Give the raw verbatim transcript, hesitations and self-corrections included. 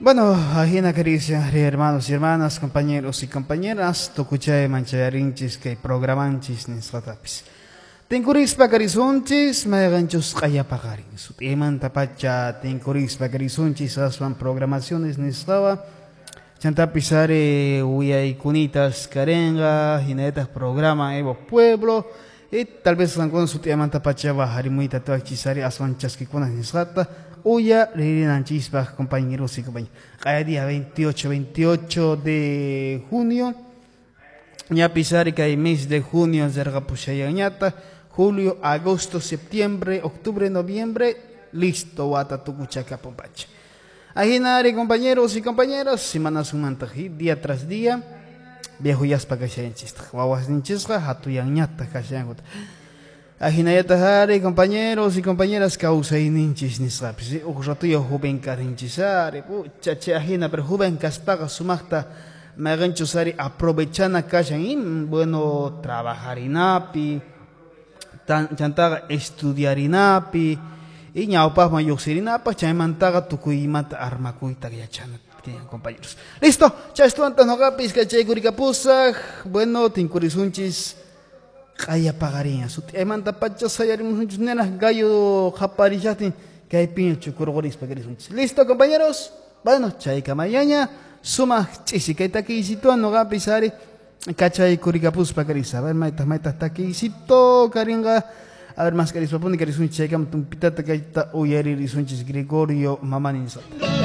Bueno, ajina queridos hermanos y hermanas, compañeros y compañeras, tukuchay manchayarinchis kay programanchis nisqatapis. Tinkurispa karisunchis, mayqanchus q'ayapaqarin. Sut'imanta pacha tinkurispa karisunchis aswan programaciones nisqawa. Chantapis ari uyayKunitas karenqa, hinallataq programa Evo Pueblo. Y tal vez qankuna sut'imanta pacha harimuyta tuwachis ari aswan chaskikuna nisqata. Uya ririnanchispaq compañeros y compañeras. Q'aya día veintiocho, veintiocho de junio. Ñapis ari kay mes de junio rirqapushayanñata. Julio, agosto, septiembre, octubre, noviembre, listo, wata tukuchakapun pacha. Ajinari compañeros y compañeras, semana sumanta día tras día, viejo yaspa kashayanchistaq, wawasninchisqa hatuyanñata kashayankuta. Ajinayataq ari compañeros y compañeras kawsayninchis nisqapis, huk ratuya joven karinchis ari, pucha chay ajina, pero joven kaspaqa sumaqta mayqanchus ari aprovechana kashan y bueno trabajarinapi, chantaqa estudiarinapi, y ñawpaqman lluqsirinapaq, chaymantaqa tukuy imata armakuyta yachana compañeros. Listo, chaystuwantaq nuqapis kachaykurikapusaq, bueno, tinkurisunchis q'aya paqarin, sut'imanta pacha sayarimusunchis nena gallo qaparishaqtin kaypiña chukurqurispa karisunchis. Listo, compañeros, bueno, chaykamayaña sumaq ch'isi kay takiysituwan nuqapis ari kachaykurikapuspa karisa. A ver, maytaq maytaq takiysito karinqa. A ver, más karispapuni karisunchis chaykama tumpitata kayta uyaririsunchis Gregorio Mamani nisqata.